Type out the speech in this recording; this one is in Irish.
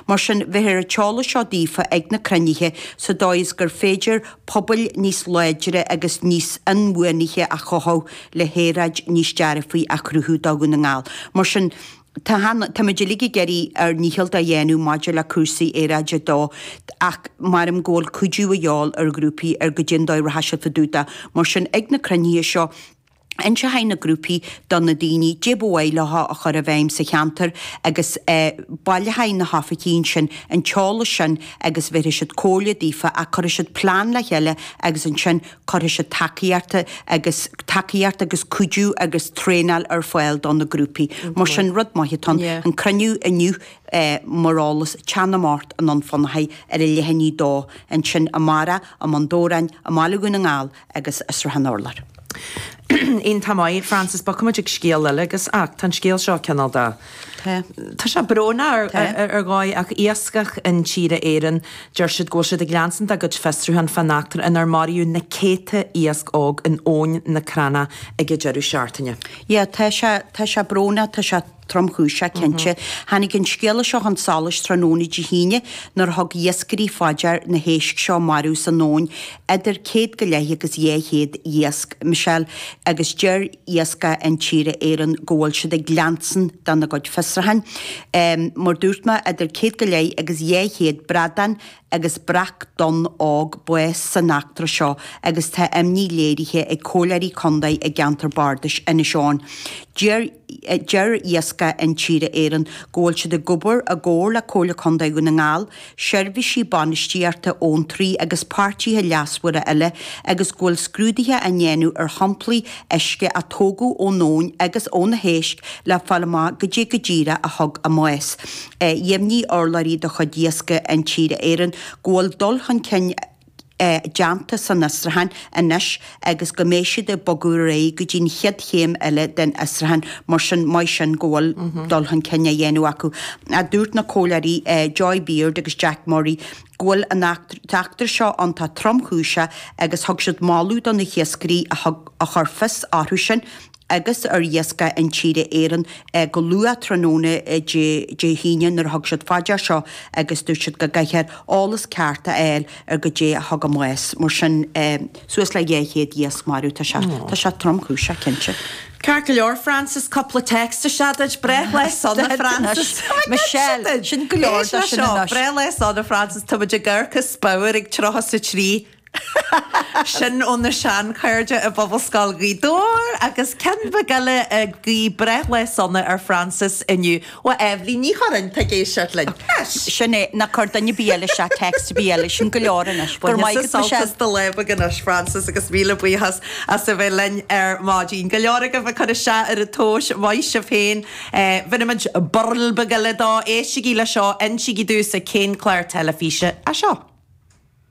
Mar sin, bheifear an t-eolas seo daofa ag na cruinnithe sa dóigh is gur féidir pobail níos láidre agus níos inbhuanaithe a chothú le haeráid níos dearfaí a chruthú do Dhún na nGall. Mar sin, tá, táimid uilig ag iarraidh ár ndícheall a dhéanamh maidir le cúrsaí aeráide dó ach maram go bhfuil cuidiú a dhíobháil ar ghrúpaí ar goidé an dóigh a rachaidh siad fá dtaobh de. Mar sin, ag na cruinnithe seo, Inseoidh na grúpaí do na daoine goidé ba mhaith leo a chur i bhfeidhm sa cheantar agus baileoidh na hoifigigh ansin an t-eolas sin agus bhéarfaidh siad comhairle daofa ach cuirfidh siad plean le chéile agus ansin cuirfidh siad tacaíocht agus tacaíocht agus cuidiú agus traenáil ar fáil do na grúpaí. Mar sin, rud maith atá ann. An cruinniú inniu mar eolas, teann amárach i nDún Fionnachaidh ar a leath i ndiaidh a dó ansin amárach i mBun Dobhráin, i mBaile Dhún na nGall agus i Srath an Urláir. Iontach maith, Frances, bogfaimid ag scéal eile agus, ach tá an scéal seo cineál de, Tá. tá sé brónach Tá. ar dhóigh ach Iascach Intíre Éireann, deir siad go bhfuil siad ag leanstan dá gcuid fiosrúchán fán eachtra inar maraíodh na céadta iasc óg in Abhainn na Crannach ag an deireadh seachtaine. Yeah, tá sé, tá sé brónach, tá sé tromchúiseach, cinnte. Tháinig an scéala seo chun solais tráthnóna Dé hAoine nuair a thug iascairí fá dear na héisc seo marbh san abhainn, idir céad go leith agus 200 iasc, Michelle, agus deir Iascach Intíre Éireann go bhfuil siad ag leanstan dena gcuid fiosrúcháin. Mar dúirt mé, idir céad go leith agus 200 bradán agus breac donn óg bás san eachtra seo agus tá imní léirithe ag comhairleoirí contae i gceantar bardais Inis Eoghain. Deir Deir Iascach Intíre Éireann go bhfuil siad ag obair i gcomhar le Comhairle Contae Dhún na nGall, seirbhísí bainistíochta abhantraí agus páirtithe leasmhara eile agus go bhfuil scrúduithe á ndéanamh ar shamplaí uisce a tógadh ón abhainn agus ó na héisc le fáil amach goidé go díreach a thug a mbás. Dheimhnigh urlabhraí de chuid Iascaigh Intíre Éireann go bhfuil dul chun cinn déanta san fhiosrúchán anois agus go mbeidh siad ag bogadh ar aghaidh go dtí an chéad chéim eile den fhiosrúchán, mar sin maith sin go bhfuil dul chun cinn á dhéanamh acu. Dúirt na comhairleoirí Joy Beard agus Jack Murray go bhfuil an eachtra seo iontach tromchúiseach agus thug siad moladh do na hiascairí a thug a chuir fios orthu sin agus ar Iascach Intíre Éireann go luath tráthnóna Dé hAoine nuair a thug siad fá dear seo agus dúirt siad go gcaithfear eolas ceart a fháil ar goidé a thug a mbás. Mar sin, suas le 200 iasc marbh, tá sé, tá sé tromchúiseach, cinnte. Ceart go leor, Frances, cúpla text isteach duit. Breithlá sona, Frances. Michelle, sin go leor de sin anois. Breithlá sona, Frances, tá muid ag amharc as bodhar ag 33. Sin ó na seanchairde i bPobalscoil Ghaoth Dobhair agus ceann beag eile ag guí breithlá sona ar Frances inniu ó Eibhlín Ní Churráin, atá ag éisteacht linn. Sin é, ná cuir duine ar bith eile isteach text ar bith eile, sin go leor anois. Go raibh maith agat Michelle. Sult as do lá beag anois Frances agus míle buíochas as a bheith linn ar maidin. Go leor agaibh ag cur isteach ar an tomhas, maith sibh féin. Bhéarfaimid burl beag eile dó, éistigí le seo, insígí domhsa cén clár teilifíse é seo.